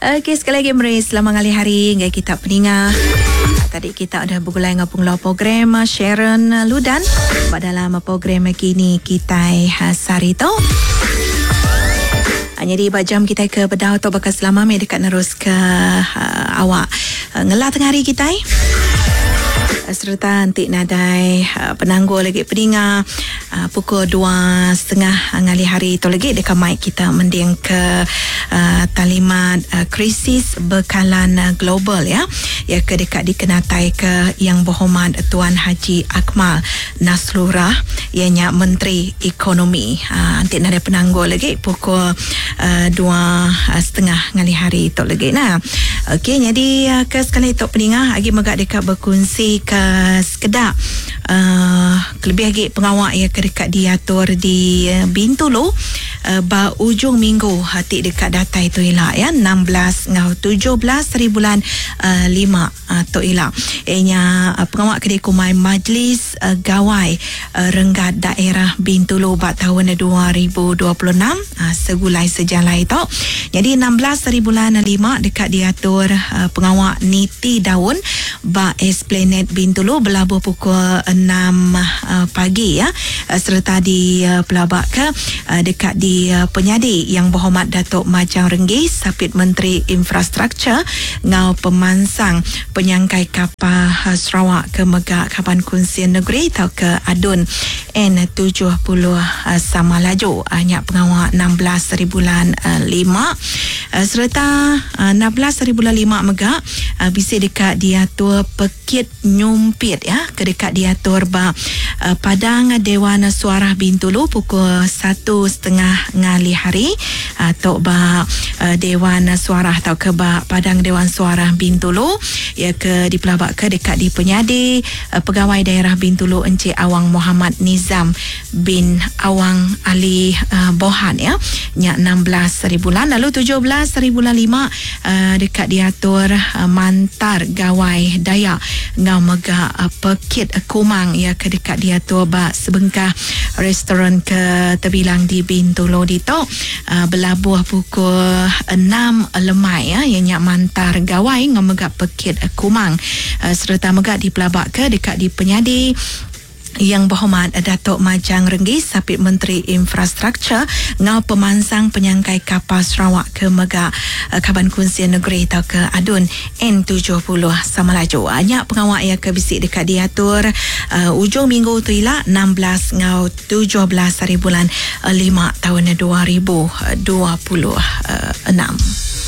Okey, sekali lagi meri selamat ngalih hari ngagai kita peninga. Tadi kita udah begulai enggau pengeluar program Sharon Ludan ba dalam program kini kitai sehari tu. Nyadi ba jam kitai ke bedau tu baka selama meh deka neruska awak ngela tengah hari kitai. Sereta enti nadai penanggul agi peninga Pukul dua setengah ngalih hari tu lagi deka mai kita mending ke talimat krisis bekalan global ya iya ke deka dikenatai ke Yang Berhormat Tuan Haji Akmal Nasrullah iya nya Menteri Ekonomi. Enti nadai penanggul lagi pukul dua setengah ngalih hari tu lagi nah. Okey nyadi ke sekali tu peninga agi mega deka bekunsi ke sekeda uhh kelebih agi pengawa iya ke deka diatur di Bintulu ba ujung minggu ti deka datai tu ila ya 16 enggau 17 hari bulan lima tu ila. Iya nya pengawa ke dikumbai Majlis Gawai Renggat Daerah Bintulu ba taun 2026 Segulai Sejalai tu. Nyadi 16 hari bulan lima deka diatur pengawa niti daun ba Esplanade Bintulu belabuh pukul enam pagi ya sereta dipelabaka deka dipenyadi Yang Berhormat Datuk Majang Renggi Sapit Menteri Infrastruktur enggau Pemansang Penyangkai Kapal Sarawak ke mega Kaban Kunsil Negeri tauka ADUN N70 sama laju nya pengawa 16 haribulan lima sereta 16 haribulan lima mega Bisi deka diatur pekit nyumpit ya ke deka diatur ba Padang Dewan Suarah Bintulu pukul satu setengah ngalih hari tu ba Dewan Suarah tauka ba Padang Dewan Suarah Bintulu iya ke dipelabaka deka dipenyadi Pegawai Daerah Bintulu Encik Awang Mohamad Nizam bin Awang Ali Bohan ya nya 16 haribulan lalu 17 haribulan lima Deka diatur mantar Gawai Dayak enggau mega Pekit Kumang iya ke deka diatur ba sebengkah restoran ke tebilang di Bintulu ditu belabuh pukul enam lemai iya nya mantar Gawai enggau mega Pekit Kumang sereta mega dipelabaka deka dipenyadi Yang Berhormat Datuk Majang Renggi Sapit Menteri Infrastruktur enggau Pemansang Penyangkai Kapal Sarawak ke mega Kaban Kunsil Negeri tauka ADUN N70 Samalaju. Nya pengawa iya ke bisi deka diatur ujung minggu tu ila 16 enggau 17 hari bulan lima taun 2026.